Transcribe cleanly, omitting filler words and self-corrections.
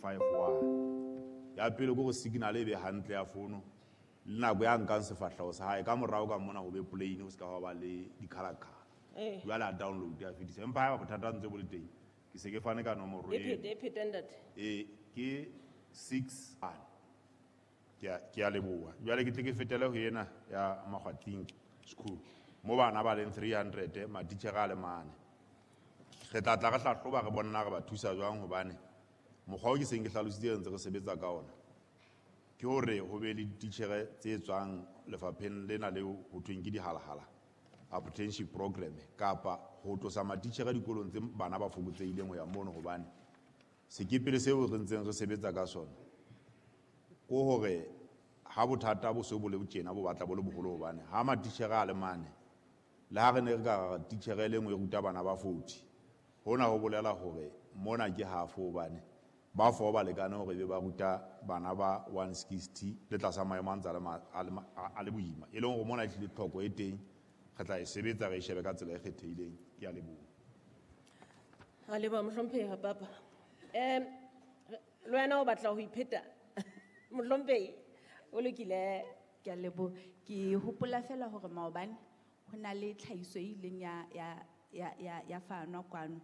351. Ya pele ke hore signal e be hantle ya fono le nako ya nkang sefahleho sa hae ka morao ka mona ho be plain, ho se ka hwa ba le di-colour-colour. Jwale a download a fetisa, empa haeba bothata ntse bo le teng, ke se ke fane ka nomoro E phete, e phete, ntate. E ke 6 1. Ke a leboha. Jwale ke tle ke fetele ho ena ya Makgwating School, mo bana ba leng 300, matitjhere a le mane. Re tla tla re hlahloba re bona re ba thusa jwang, hobane mokgwa o ke seng ke hlalositse re ntse re sebetsa ka ona ke hore ho be le dititjhere tse tswang lefapheng lena leo ho thweng ke dihalahala apprenticeship program, kapa ho tlosa matitjhere dikolong tse bana ba fokotsehileng ho ya mono, hobane sekepele seo re ntseng re sebetsa ka sona ke hore ha bothata bo se bo le tjena bo batla bo le boholo, hobane ha matitjhere a le mane, le ha re ne re ka re titjhere e le nngwe e ruta bana ba 40, hona ho bolela hore mona ke half, hobane ba four ba lekane hore ebe ba ruta bana ba 160 le tlasa maemo a ntse a le a le a le boima, e leng hore mona ehlile tlhoko e teng, re tla e sebetsa re e shebe ka tsela e kgethehileng. Ke a leboha. A leboha, mohlomphehi papa. Le wena o batla ho ipheta, mohlomphehi? O lokile. Ke a leboha. Ke hopola fela hore maobane ho na le tlhahiso e ileng ya fanwa kwano.